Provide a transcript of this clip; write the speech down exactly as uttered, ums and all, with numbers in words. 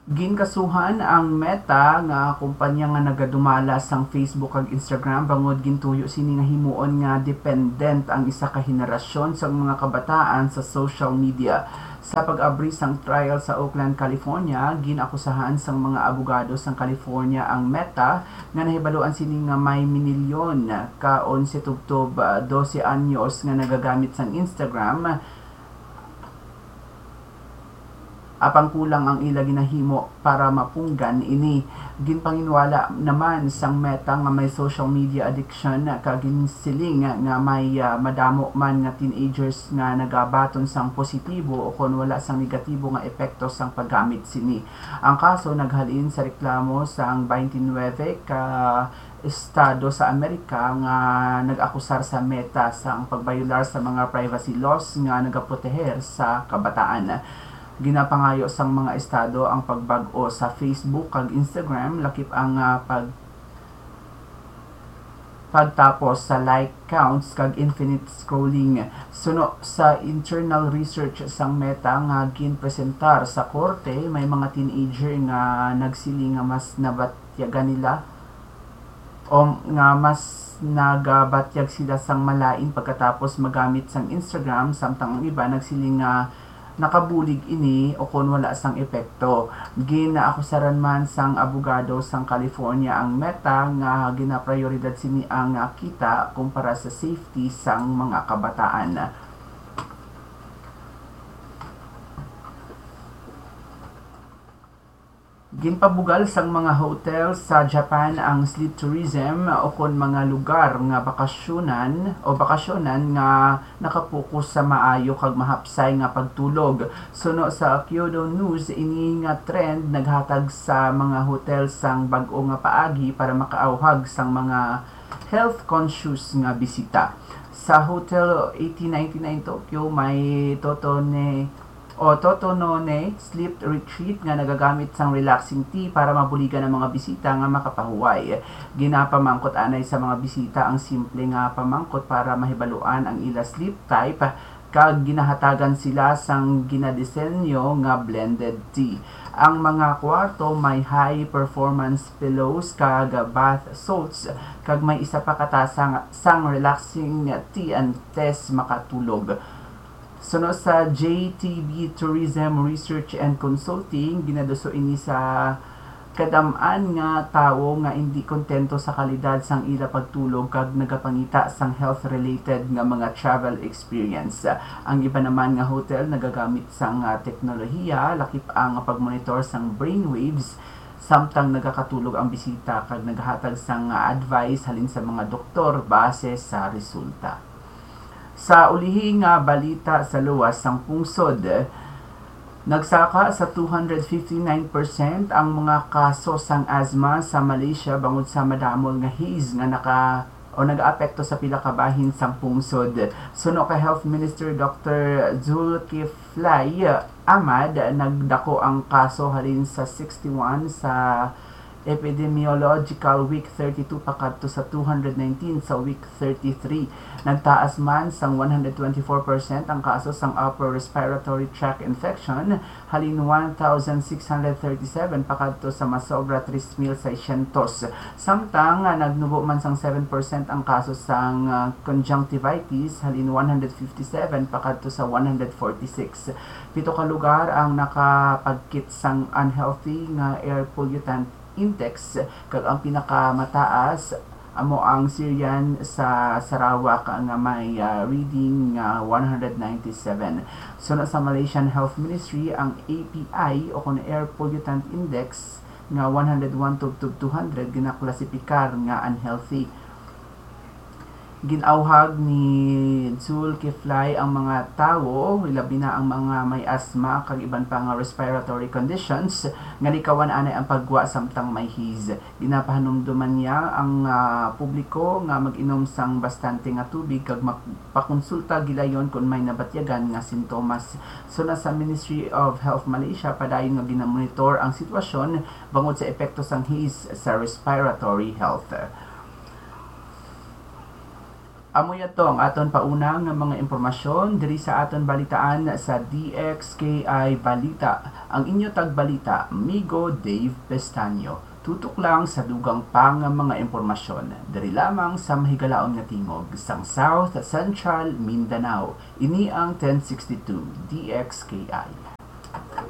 Ginkasuhan ang Meta nga kumpanya nga nagadumala sang Facebook kag Instagram bangod gintuyo sini nga himuon nga dependent ang isa ka henerasyon sang mga kabataan sa social media. Sa pag-abri sang trial sa Oakland, California, ginakusahan sang mga abogado sang California ang Meta nga nahibaluan sini nga may minilyon ka onse tubtob, ah, dose anyos nga nagagamit sang Instagram, apang kulang ang ila ginahimo para mapunggan ini. Ginpanginwala naman sang Meta nga may social media addiction kag ginsiling nga may, ah, madamo man nga teenagers nga nagabaton sang positibo o kon wala sang negatibo nga epekto sang paggamit sini. Ang kaso naghalin sa reklamo sang twenty-nine ka estado sa Amerika nga nag-akusar sa Meta sang pagbayolar sa mga privacy laws nga nagaproteher sa kabataan. Ginapangayo sang mga estado ang pagbag-o sa Facebook kag Instagram, lakip ang, ah, pag-, pagtapos sa like counts kag infinite scrolling. Suno sa internal research sang Meta nga ginpresentar sa korte, may mga teenager nga nagsiling nga mas nabatyagan nila o nga mas nagabatyag sila sang malain pagkatapos magamit sang Instagram, samtang ang iba nagsiling nga nakabulig ini o kon wala sang epekto. Ginaakusaran man sang abogado sang California ang Meta nga ginaprioridad sini ang, ah, kita kumpara sa safety sang mga kabataan. Ginpabugal sang mga hotel sa Japan ang sleep tourism o kon mga lugar nga bakasyonan o bakasyonan nga nakapokus sa maayo kag mahapsay nga pagtulog. Suno sa Kyodo News, ini nga trend naghatag sa mga hotel sang bag-o nga paagi para makaawhag sang mga health-conscious nga bisita. Sa Hotel eighteen ninety-nine Tokyo, may Totone o Totonone Sleep Retreat nga nagagamit sang relaxing tea para mabuligan ang mga bisita nga makapahuway. Ginapamangkot anay sa mga bisita ang simple nga pamangkot para mahibaluan ang ila sleep type, kag ginahatagan sila sang ginadesenyo nga blended tea. Ang mga kwarto may high performance pillows kag bath salts, kag may isa pa ka tasa nga, sang relaxing tea antes makatulog. Suno sa J T B Tourism Research and Consulting, ginaduso ini sa kadam-an nga tawo nga indi kontento sa kalidad sang ila pagtulog kag nagapangita sang health-related nga mga travel experience. Ang iba naman nga hotel nagagamit sang, ah, teknolohiya, lakip ang pagmonitor sang brainwaves samtang nagakatulog ang bisita kag naghatag sang, ah, advice halin sa mga doktor base sa resulta. Sa ulihi nga balita sa luwas sang pungsod, nagsaka sa two hundred fifty-nine percent ang mga kaso sang asthma sa Malaysia bangod sa madamol nga haze nga naka-, o nag-aapekto sa pila ka bahin sang pungsod. Suno kay Health Minister Doctor Zulkifli Ahmad, nagdako ang kaso halin sa sixty-one sa Epidemiological Week thirty-two pakadto sa two hundred nineteen sa Week thirty-three. Nagtaas man sang one hundred twenty-four percent ang kaso sang upper respiratory tract infection, halin one thousand six hundred thirty-seven pakadto sa masobra tres mil seiscientos. Samtang, ah, nagnubo man sang seven percent ang kaso sang, ah, conjunctivitis, halin one hundred fifty-seven pakadto sa one hundred forty-six. Pito ka lugar ang nakapagkit sang unhealthy nga air pollutant index, kag ang pinakamataas amo ang Sirian sa Sarawak nga may, ah, reading nga one hundred ninety-seven. Suno sa Malaysian Health Ministry, ang A P I o kon Air Pollutant Index nga one hundred one tubtob two hundred ginaklasipikar nga unhealthy. Gin-awhag ni Zulkifli ang mga tawo, labi na ang mga may asthma kag iban pa nga respiratory conditions, nga likawan anay ang paggwa samtang may haze. Ginapahanumduman niya ang, ah, publiko nga mag-inom sang bastante nga tubig kag magpakonsulta gilayon kon may nabatyagan nga sintomas. Suno sa Ministry of Health Malaysia, padayon nga ginamonitor ang sitwasyon bangod sa epekto sang haze sa respiratory health. Amo yato ang aton pauna nga mga impormasyon diri sa aton balitaan sa D X K I Balita. Ang inyo tagbalita, Migo Dave Pestaño. Tutok lang sa dugang pa nga mga impormasyon diri lamang sa mahigalaon nga tingog sang South Central Mindanao. Ini ang ten sixty-two D X K I.